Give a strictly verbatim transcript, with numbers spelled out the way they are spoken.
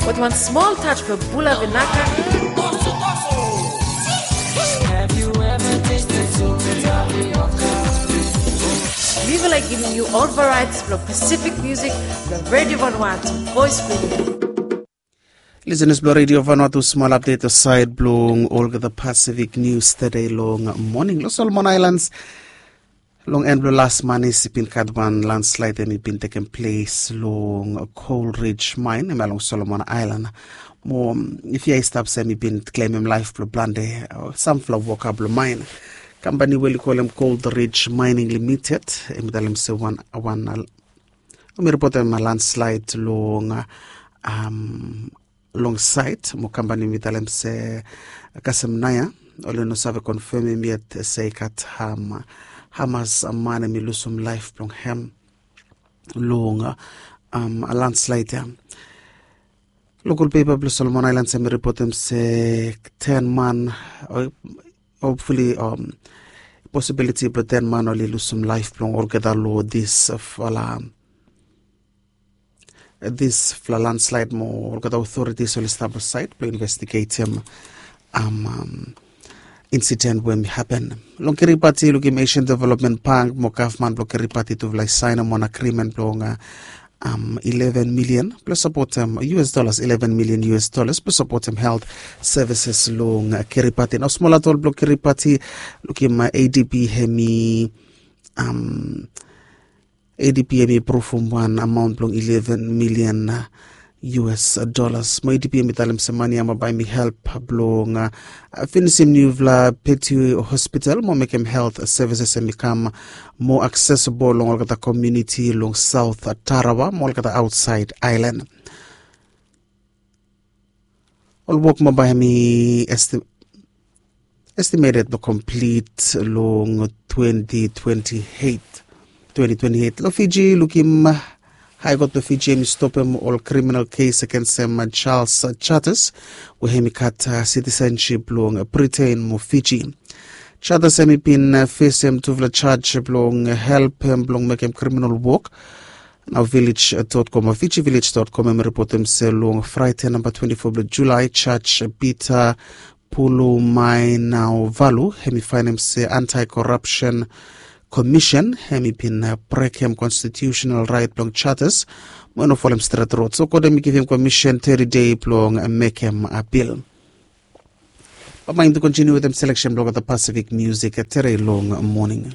With one small touch of bula vinaka. Have you ever tasted sweet tapioca? We will like giving you all varieties of Pacific music from Radio Vanuatu, Voice Video. Listeners blong Radio Vanuatu, small update aside blong olgeta Pacific News today long morning. Long Solomon Islands, long en blong las manis i bin gat wan landslide, em i bin tekem ples long Coal Ridge Mine, em long Solomon Island. Mo if ya i stap se em i bin klemem laef blong plante, samfala woka blong main. Kampani we oli kolem Coal Ridge Mining Limited, em i talem se wan wan, mi ripotem landslide long, um, long sait mo kampani mi talem se kasem naya, oli no save konfemem yet se i gat, um, hamas man em i lusum laef blong hem long, um, landslide ya. Lokal pepa blong Solomon Islands em i ripotem se ten man, hopefully, um, posibiliti blong ten man oli lusum laef blong olgeta long disfala, disfala landslide mo olgeta otoritis oli stap long sait blong investigetem, um, um, insiden we em i hapen. Long Kiribati, lukim Asian Development Bank mo gavman blong Kiribati tufala i saenem wan agrimen blong, uh, um, eleven milian blong sapotem, U S dollars, eleven milian U S dollars blong sapotem helt sevises long, uh, Kiribati. Nao smol atol blong Kiribati, lukim, uh, A D B hem i, um, A D B hem i apruvum wan amaon blong eleven milian, uh, U S dollars. Mo A D B hem i talem se mane ya mo bae hem i help blong, uh, finisim niufala Petue Hospital mo mekem helt sevises hem i kam moa aksesibol long olgeta komuniti long Saot Tarawa mo olgeta aotsaed aelan. Ol wok mo bae hem i esti- estimeted blong komplit long twenty twenty-eight. Twenty twenty-eight. Long Fiji, lukim Hae Kot blong Fiji hem i stopem ol kriminal kes agensem Charles Charters we hem i gat, uh, sitisensip blong Briten mo Fiji. Charters hem i bin, uh, fesem tufala jaj blong helpem blong mekem kriminal wok. Nao Village dot com, Fiji Village dot com hem i ripotem se long Fraete namba twenti fo blong Julae, Jaj Peter Pulumainauvalu hem i faenem se Anti-Corruption Commission hem i bin, uh, brekem konstitiusenal raet blong Charters mo i no folem stret rod. So kot hem i givim komisen teti dei blong, uh, mekem apil. Bambae yumi tu kontiniu wetem seleksen blong olgeta Pacific Music, uh, tere long moning.